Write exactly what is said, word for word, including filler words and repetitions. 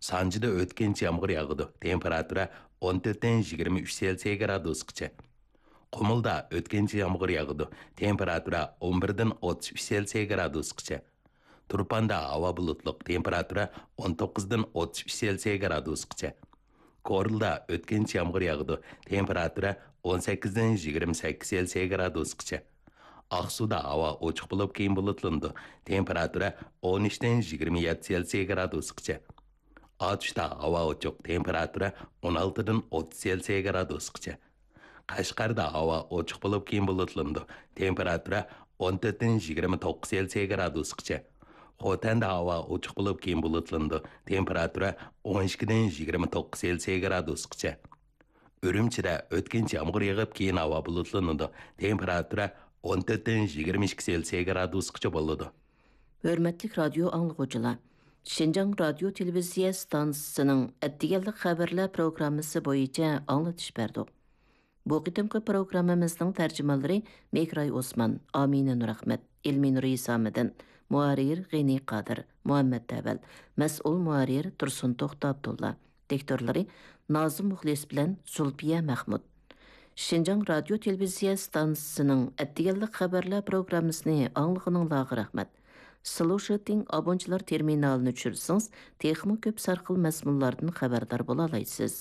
سانجىدا ئۆتكۈنچى يامغۇر ياغىدۇ، تېمپېراتۇرا ئون تۆتتىن يىگىرمە ئۈچ سېلسىيە گرادۇسقىچە. قۇمۇلدا ئۆتكۈنچى يامغۇر ياغىدۇ، تېمپېراتۇرا ئون بىردىن ئوتتۇز ئۈچ سېلسىيە گرادۇسقىچە. تۇرپاندا ھاۋا بۇلۇتلۇق، تېمپېراتۇرا ئون توققۇزدىن ئوتتۇز ئۈچ سېلسىيە گرادۇسقىچە. كورلىدا ئۆتكۈنچى يامغۇر ياغىدۇ، تېمپېراتۇرا ئون سەككىزدىن يىگىرمە سەككىز سېلسىيە گرادۇسقىچە. ئاقسۇدا ھاۋا ئوچۇق بولۇپ، كېيىن بۇلۇتلىنىدۇ، تېمپېراتۇرا ئون ئۈچتىن يىگىرمە يەتتە سېلسىيە گرادۇسقىچە. ئاتۇشتا ھاۋا ئوچۇق، تېمپېراتۇرا ئون ئالتىدىن ئوتتۇز سېلسىيە گرادۇسقىچە. قەشقەردە ھاۋا ئوچۇق بولۇپ، كېيىن بۇلۇتلىنىدۇ، تېمپېراتۇرا ئون تۆتتىن يىگىرمە توققۇز سېلسىيە گرادۇسقىچە. خوتەندە ھاۋا ئوچۇق بولۇپ، كېيىن بۇلۇتلىنىدۇ، تېمپېراتۇرا ئون ئىككىدىن يىگىرمە توققۇز سېلسىيە گرادۇسقىچە. ئۈرۈمچىدە ئۆتكۈنچى يامغۇر يېغىپ، كېيىن ھاۋا بۇلۇتلىنىدۇ، تېمپېراتۇرا ئون تۆتتىن يىگىرمە ئىككى سېلسىيە گرادۇسقىچە بولىدۇ. ھۆرمەتلىك رادىيو ئاڭلىغۇچىلار، شىنجاڭ رادىيو تېلېۋىزىيە ئىستانسىسىنىڭ ئەتىگەنلىك خەۋەرلەر پروگراممىسى بويىچە ئاڭلىتىش بەردۇق. بۇ قېتىمقى پروگراممىمىزنىڭ تەرجىمانلىرى مېھراي ئوسمان، ئامىنە نۇرئەخمەت، ئېلمىنۇر ھېسامىدىن، مۇھەررىر غېنى قادىر، مۇھەممەت ئەۋەل، مەسئۇل مۇھەررىر تۇرسۇن توختى ئابدۇللا، دىكتورلىرى نازىم مۇخلىس بىلەن زۇلپىيە مەخمۇت. شىنجاڭ رادىيو تېلېۋىزىيە ئىستانسىسىنىڭ ئەتىگەنلىك خەۋەرلەر پروگراممىسىنى ئاڭلىغىنىڭلارغا رەھمەت. سلوشىتىڭ ئابونچىلار تېرمىنالىنى چۈشۈرسىڭىز، تېخىمۇ كۆپ سەرخىل مەزمۇنلاردىن خەۋەردار بولالايسىز.